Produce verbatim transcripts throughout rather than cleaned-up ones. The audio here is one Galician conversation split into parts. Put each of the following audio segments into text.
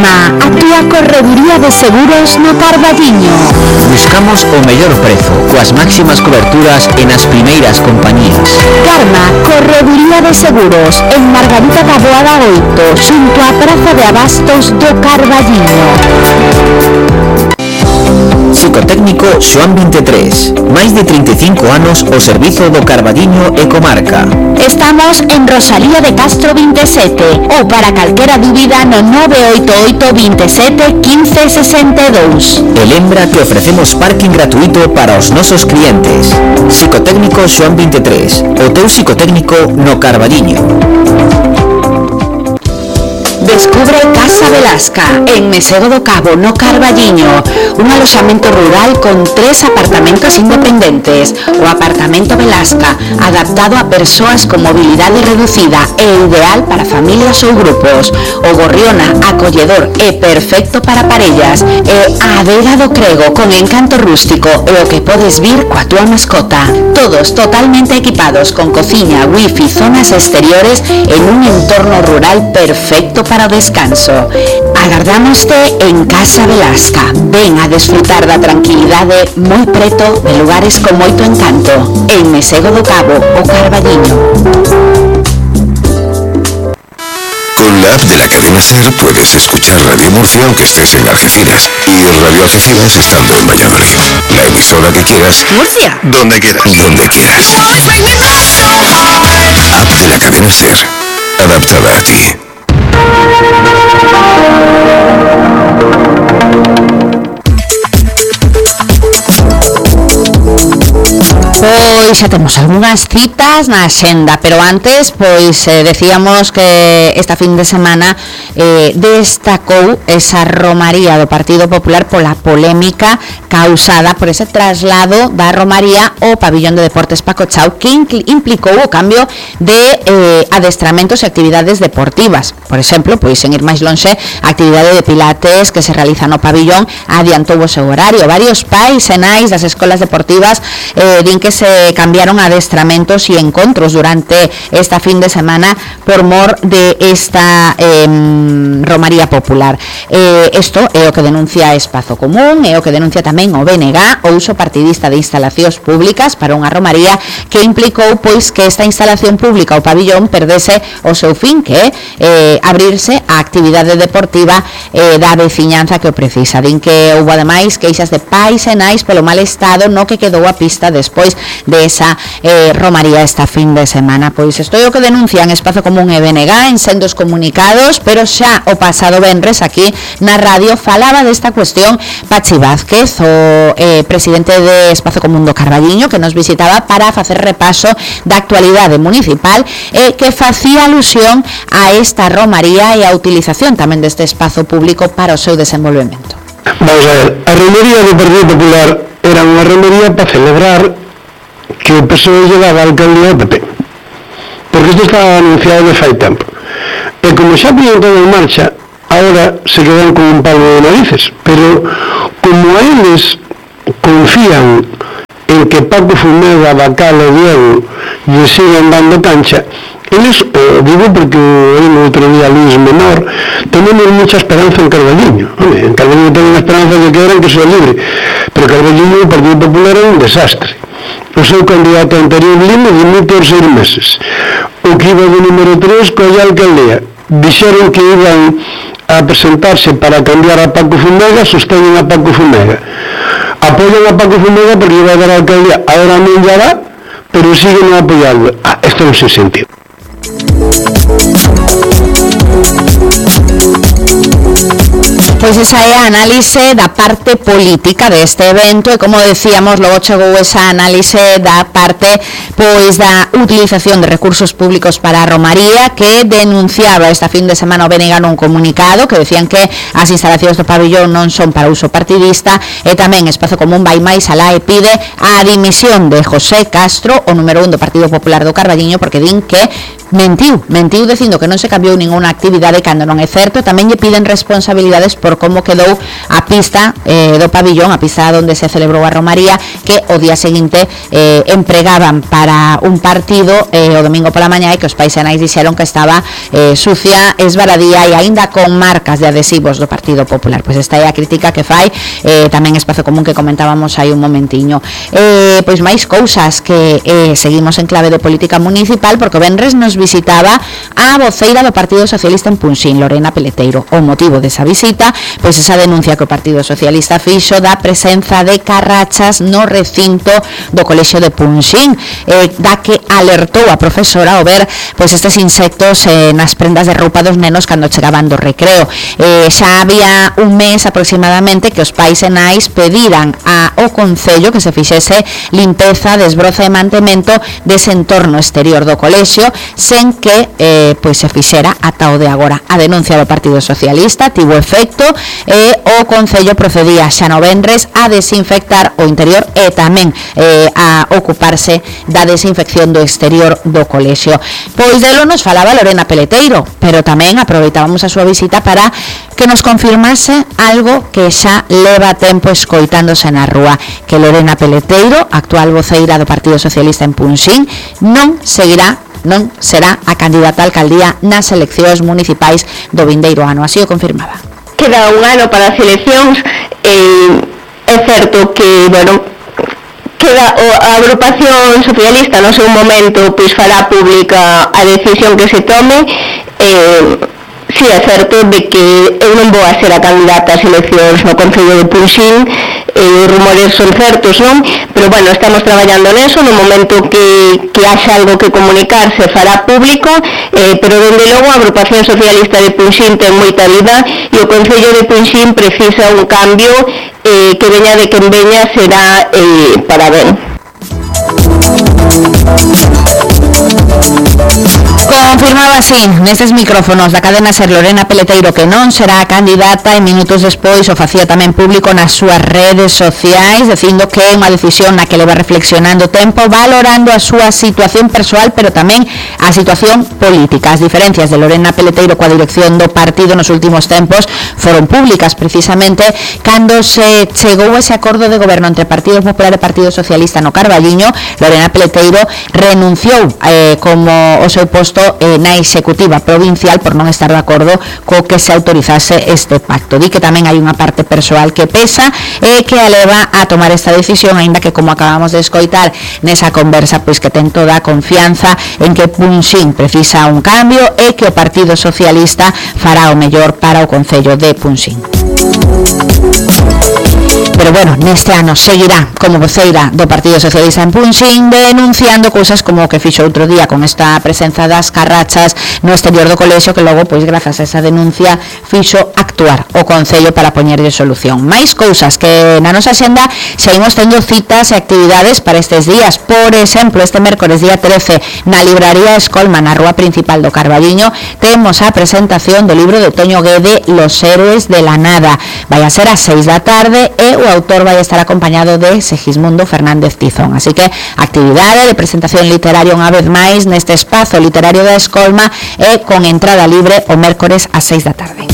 Karma, a túa correduría de seguros no Carballiño. Buscamos o mellor prezo, coas máximas coberturas e nas primeiras compañías. Karma, correduría de seguros, en Margarita da Boada oito, xunto á Praza de Abastos do Carballiño. Psicotécnico Xoán vinte e tres. Máis de trinta e cinco anos ao servizo do Carballiño e comarca. Estamos en Rosalía de Castro vinte e sete ou para calquera dúbida no nove oito oito, veintisiete, quince, sesenta e dous. E lembra que ofrecemos parking gratuito para os nosos clientes. Psicotécnico Xoán vinte e tres. O teu psicotécnico no Carballiño. Descubre Casa Velasca, en Mesego do Cabo, no Carballiño, un aloxamento rural con tres apartamentos independentes. O apartamento Velasca, adaptado a persoas con mobilidade reducida e ideal para familias ou grupos. O Gorriona, acolledor e perfecto para parellas. E a Adela do Crego, con encanto rústico e o que podes vir coa túa mascota. Todos totalmente equipados con cociña, wifi, zonas exteriores en un entorno rural perfecto para para o descanso. Agardámoste en Casa Velasca. Ven a desfrutar da tranquilidade moi preto de lugares con moito encanto. En Mesego do Cabo, o Carballiño. Con la app de la cadena SER puedes escuchar Radio Murcia aunque estés en Algeciras y Radio Algeciras estando en Valladolid. La emisora que quieras. Murcia. Donde quieras. Donde quieras. App de la cadena SER. Adaptada a ti. Pois xa temos algunhas citas na axenda, pero antes pois eh, decíamos que esta fin de semana eh, destacou esa romaría do Partido Popular pola polémica causada por ese traslado da romaría ao pabillón de deportes Paco Chao, que implicou o cambio de eh, adestramentos e actividades deportivas. Por exemplo, pois en ir máis lonxe, a actividade de pilates que se realiza no pabillón adiantou o seu horario. Varios pais e nais das escolas deportivas eh, din que se cambiaron adestramentos e encontros durante esta fin de semana por mor de esta eh, romaría popular. Eh, isto é o que denuncia Espazo Común, é o que denuncia tamén o B N G, o uso partidista de instalacións públicas para unha romaría que implicou pois que esta instalación pública, o pabillón, perdese o seu fin, que é eh, abrirse a actividade deportiva eh, da veciñanza que o precisa. Din que houve ademais queixas de pais e nais polo mal estado no que quedou a pista despois de esa eh, romaría esta fin de semana. Pois isto é o que denuncian Espazo Común e B N G en sendos comunicados, pero xa o pasado venres aquí na radio falaba desta cuestión Pachi Vázquez, o eh, presidente de Espazo Común do Carballiño, que nos visitaba para facer repaso da actualidade municipal e eh, que facía alusión a esta romaría e a utilización tamén deste espazo público para o seu desenvolvemento. Vamos a ver, a romaría do Partido Popular era unha romaría para celebrar que o P S O E lle daba a alcaldía ao P P, porque isto estaba anunciado de fai tempo, e como xa poñen todo en marcha, agora se quedan con un palo de narices, pero como a eles confían en que Paco Fumega, Bacal e Diego lle siguen dando cancha, eles, eh, digo porque el outro día Luis Menor, tenemos mucha esperanza en Carballiño. Hombre, en Carballiño tengo una esperanza de que eran que sea libre, pero Carballiño, o Partido Popular, é un desastre. O seu candidato anterior Lima dimite por seis meses. O que iba de número tres colla alcaldía. Dixeron que iban a presentarse para cambiar a Paco Fumega, sostenen a Paco Fumega. Apoyan a Paco Fumega porque iba a dar a alcaldía. Ahora non ya va, pero siguen apoyando. Ah, esto non se sentido. Pois esa é a análise da parte política deste evento e, como decíamos, logo chegou esa análise da parte pois da utilización de recursos públicos para a romaría, que denunciaba esta fin de semana o B N G nun comunicado que decían que as instalacións do pabillón non son para uso partidista, e tamén Espazo Común vai máis alá e pide a dimisión de José Castro, o número un do Partido Popular do Carballiño, porque din que mentiu, mentiu dicindo que non se cambiou ninguna actividade cando non é certo. Tamén lle piden responsabilidades por como quedou a pista eh, do pabillón, a pista onde se celebrou a romaría, que o día seguinte eh, empregaban para un partido eh, o domingo pola mañá, e que os paisanais dixeron que estaba eh, sucia, esvaradía e aínda con marcas de adhesivos do Partido Popular. Pois esta é a crítica que fai eh, tamén Espazo Común, que comentábamos hai un momentiño. Eh, pois máis cousas, que eh, seguimos en clave de política municipal, porque o venres nos visitaba a voceira do Partido Socialista en Punxín, Lorena Peleteiro. O motivo desa visita, pois esa denuncia que o Partido Socialista fixo da presenza de carrachas no recinto do Colexio de Punxín, eh, da que alertou a profesora ao ver pois estes insectos eh, nas prendas de roupa dos nenos cando chegaban do recreo. Eh, xa había un mes aproximadamente que os pais e nais pediran ao Concello que se fixese limpeza, desbroza e mantemento dese entorno exterior do colexio, sen que eh, pois se fixera ata o de agora. A denuncia do Partido Socialista tivo efecto e o Concello procedía xa no venres a desinfectar o interior e tamén eh, a ocuparse da desinfección do exterior do colexio. Pois delo nos falaba Lorena Peleteiro, pero tamén aproveitábamos a súa visita para que nos confirmase algo que xa leva tempo escoitándose na rúa, que Lorena Peleteiro, actual voceira do Partido Socialista en Punxín, non seguirá non será a candidata a alcaldía nas eleccións municipais do vindeiro ano. Así o confirmaba. Queda un ano para as eleccións, eh, é certo que, bueno, queda a agrupación socialista no seu momento pois fará pública a decisión que se tome. eh, si é certo de que eu non vou a ser a candidata ás eleccións no Concello de Punxín, eh, os rumores son certos, non? Pero bueno, estamos traballando neso, no momento que, que haxa algo que comunicar se fará público, eh, pero dende logo a agrupación socialista de Punxín ten moita vida e o Concello de Punxín precisa un cambio eh, que veña de quen veña será eh, para ben. Confirmaba así nestes micrófonos da cadena SER Lorena Peleteiro que non será a candidata, e minutos despois o facía tamén público nas súas redes sociais, dicindo que é unha decisión na que leva reflexionando tempo, valorando a súa situación persoal, pero tamén a situación política. As diferencias de Lorena Peleteiro coa dirección do partido nos últimos tempos foron públicas precisamente cando se chegou ese acordo de goberno entre Partido Popular e Partido Socialista no Carballiño. Lorena Peleteiro renunciou eh, como o seu posto eh, na executiva provincial por non estar de acordo co que se autorizase este pacto. Di que tamén hai unha parte persoal que pesa e que a leva a tomar esta decisión, aínda que, como acabamos de escoitar nesa conversa, pois que ten toda a confianza en que Punxín precisa un cambio e que o Partido Socialista fará o mellor para o Concello de Punxín. Pero bueno, neste ano seguirá como voceira do Partido Socialista en Punxín, denunciando cousas como o que fixo outro día con esta presenza das carrachas no exterior do colexio, que logo, pois grazas a esa denuncia, fixo actuar o Concello para poñerlle solución. Máis cousas que na nosa xenda seguimos tendo citas e actividades para estes días. Por exemplo, este mércores día trece na libraría Escolma, na rúa principal do Carballiño, temos a presentación do libro de Toño Guede, Los héroes de la nada. Vai a ser ás seis da tarde e o autor vai estar acompañado de Segismundo Fernández Tizón. Así que actividade de presentación literaria unha vez máis neste espazo literario da Escolma e con entrada libre o mércores ás seis da tarde.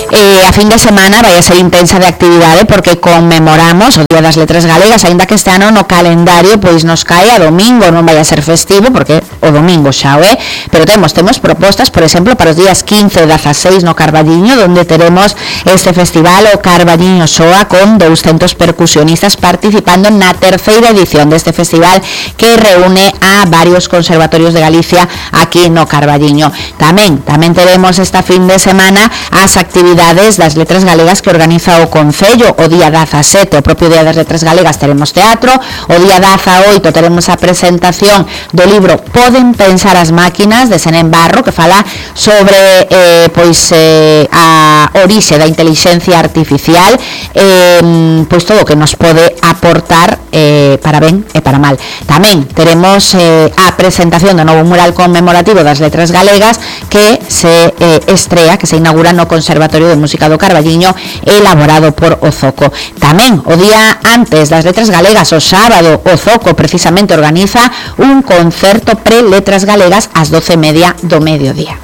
E a fin de semana vai a ser intensa de actividade porque conmemoramos o Día das Letras Galegas, aínda que este ano no calendario pois nos cae a domingo, non vai a ser festivo porque o domingo xa o é, pero temos temos propostas, por exemplo, para os días quince e dezaseis no Carballiño, onde teremos este festival, o Carballiño Soa, con douscentos percusionistas participando na terceira edición deste festival que reúne a varios conservatorios de Galicia aquí no Carballiño. Tamén, tamén teremos esta fin de semana as actividades das Letras Galegas que organiza o Concello. O día dezasete, o propio Día das Letras Galegas, teremos teatro. O día dezaoito teremos a presentación do libro Poden pensar as máquinas, de Senén Barro, que fala sobre eh, pois eh, a orixe da intelixencia artificial, eh, pois todo o que nos pode aportar eh, para ben e para mal. Tamén teremos eh, a presentación do novo mural conmemorativo das Letras Galegas que se eh, estrea, que se inaugura no Conservatorio de Música do Carballiño, elaborado por o Zoco. Tamén o día antes das Letras Galegas, o sábado, o Zoco precisamente organiza un concerto pre-Letras Galegas ás doce e media do mediodía.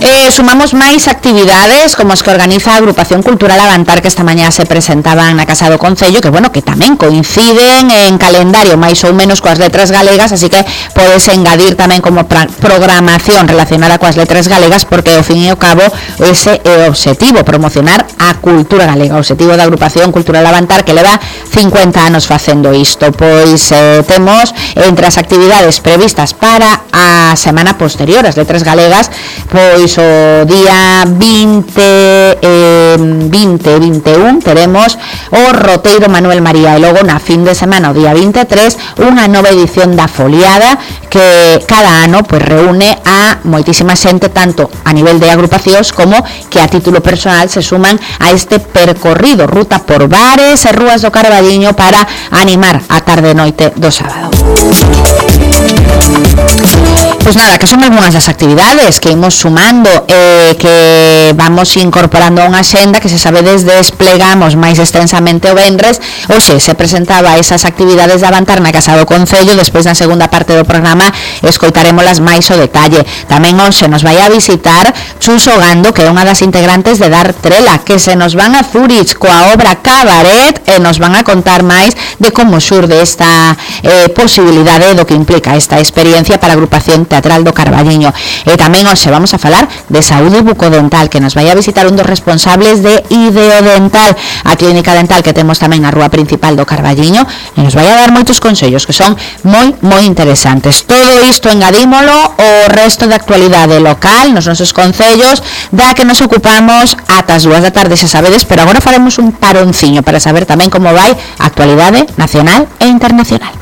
Eh, sumamos máis actividades como as que organiza a Agrupación Cultural Avantar, que esta mañá se presentaban na Casa do Concello, que bueno, que tamén coinciden en calendario máis ou menos coas Letras Galegas, así que podes engadir tamén como programación relacionada coas Letras Galegas, porque ao fin e ao cabo ese é o obxectivo, promocionar a cultura galega, o obxectivo da Agrupación Cultural Avantar, que leva cincuenta anos facendo isto. Pois eh, temos entre as actividades previstas para a semana posterior as Letras Galegas, pois o día vinte, eh, vinte, vinte e un teremos o Roteiro Manuel María, e logo na fin de semana o día vinte e tres unha nova edición da Foliada, que cada ano pois reúne a moitísima xente, tanto a nivel de agrupacións como que a título personal se suman a este percorrido, ruta por bares e rúas do Carballiño para animar a tarde e noite do sábado. Pois nada, que son algunhas das actividades que imos sumando, eh, que vamos incorporando a unha xenda que, se sabedes, desplegamos máis extensamente o venres. Hoxe se presentaba esas actividades de Avantar na Casa do Concello, despois na segunda parte do programa escoitarémolas máis o detalle. Tamén hoxe nos vai a visitar Chuso Gando, que é unha das integrantes de Dar Trela, que se nos van a Zurich coa obra Cabaret e nos van a contar máis de como xurde esta eh, posibilidade, do que implica esta experiencia para a agrupación teatral do Carballiño. E tamén hoxe vamos a falar de saúde bucodental, que nos vai a visitar un dos responsables de Ideodental, a clínica dental que temos tamén na rúa principal do Carballiño, e nos vai a dar moitos consellos que son moi, moi interesantes. Todo isto engadímolo o resto de actualidade local nos nosos concellos, da que nos ocupamos ata as dúas da tarde, xa sabedes, pero agora faremos un paronciño para saber tamén como vai a actualidade nacional e internacional.